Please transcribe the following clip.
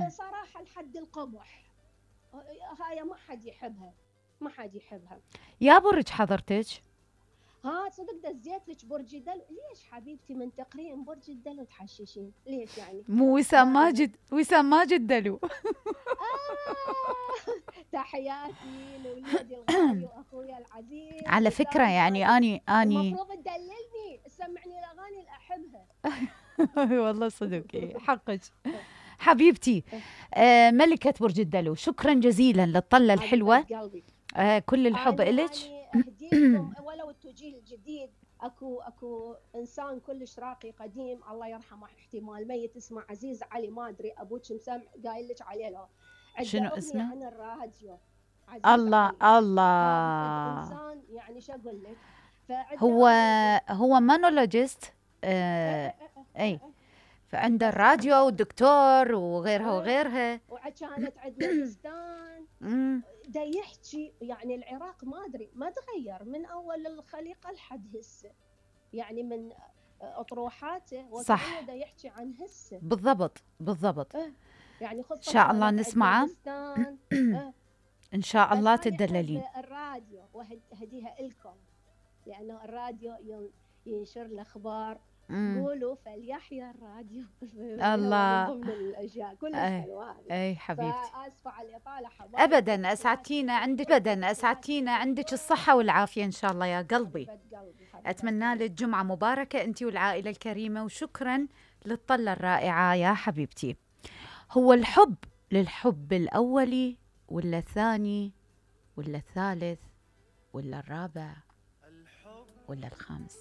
صراحة لحد القبح، هاي ما حد يحبها، ما حد يحبها. يا برج حضرتك؟ صدق دزيت لك برج الدلو. ليش حبيبتي من تقرين برج الدلو تحششين؟ ليش يعني؟ مو وسام ماجد دلو. تحياتي لوليدي الغالي واخويا العزيز. على فكرة يعني اني المفروض تدللني تسمعني الاغاني اللي احبها. والله صدق حقك حبيبتي. ملكة برج الدلو، شكرا جزيلا للطلة الحلوة. كل الحب إلك. يعني اهديكم ولو التوجيه الجديد. اكو انسان كلش راقي قديم الله يرحمه، احتمال ميت، اسمه عزيز علي، ما ادري ابوك مسمع قايل لك عليه لو. شنو اسمه؟ عن الراديو. الله علي. الله. انسان يعني شو اقول لك. هو مونولوجيست. اي فعنده الراديو والدكتور وغيرها وغيرها. وكانت عندنا بستان. دا يحكي يعني العراق ما ادري ما تغير من اول الخليقه لحد هسه، يعني من اطروحاته صح دا يحكي عن هسه. بالضبط. يعني ان شاء الله نسمعه. ان شاء الله تدللين. الراديو وهديها لكم، لانه الراديو ينشر الاخبار. قولوا فليحيى الراديو. الله. من ضمن الاشياء كلش حلوه هذه. اي حبيبتي. فاسفه على الاطاله حبايبي. ابدا اسعدتينا عندك الصحه والعافيه ان شاء الله يا قلبي. اتمنى لك جمعه مباركه انت والعائله الكريمه، وشكرا للطله الرائعه يا حبيبتي. هو الحب للحب الاولي ولا الثاني ولا الثالث ولا الرابع ولا الخامس؟